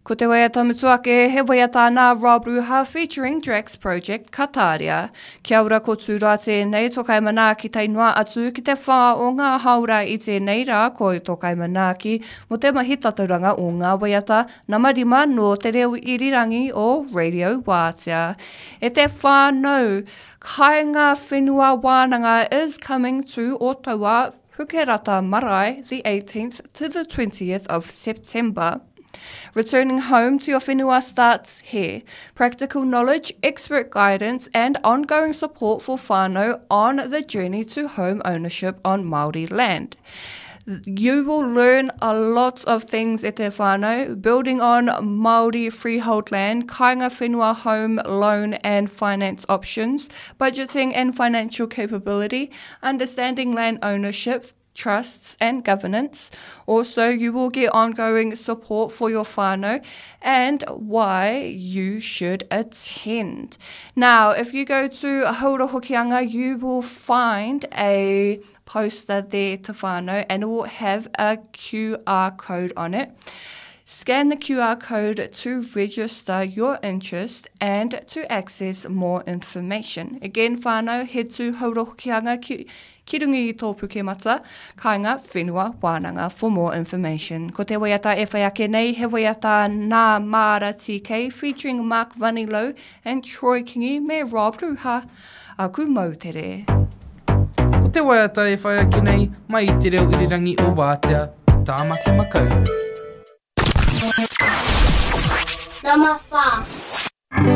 Ko te waiata mutu ake, he waiata nā Rob Ruha featuring Drax Project ka tāria. Kia ora ko Tūroa tēnei, to kaimanaaki tae noa atu ki te whā o ngā hāora i tēnei rā ko to kaimanaaki mō te mahi tatauranga o ngā waiata nama rima nō te reo irirangi o Radio Wātea. E te whānau, Kāinga Whenua Wānanga is coming to Otaua Pukerata Marae the 18th to the 20th of September. Returning home to your whenua starts here. Practical knowledge, expert guidance, and ongoing support for whānau on the journey to home ownership on Māori land. You will learn a lot of things e te whānau, building on Māori freehold land, kāinga whenua home loan and finance options, budgeting and financial capability, understanding land ownership, trusts and governance. Also, you will get ongoing support for your whānau and why you should attend. Now, if you go to Haura Hokianga, you will find a poster there to whānau and it will have a QR code on it. Scan the QR code to register your interest and to access more information. Again, whānau, head to Haura Hokianga ki, ki runga i tō pukemata, kāinga whenua wānanga for more information. Ko te waiata e whai ake nei, he waiata nā Māra TK featuring Mark Vanilow and Troy Kingi me Rob Ruha, Aku Moutere. Ko te waiata e whai ake nei, mai i te reo irirangi o Wātea ki Tāmaki Makaurau. Nama 4.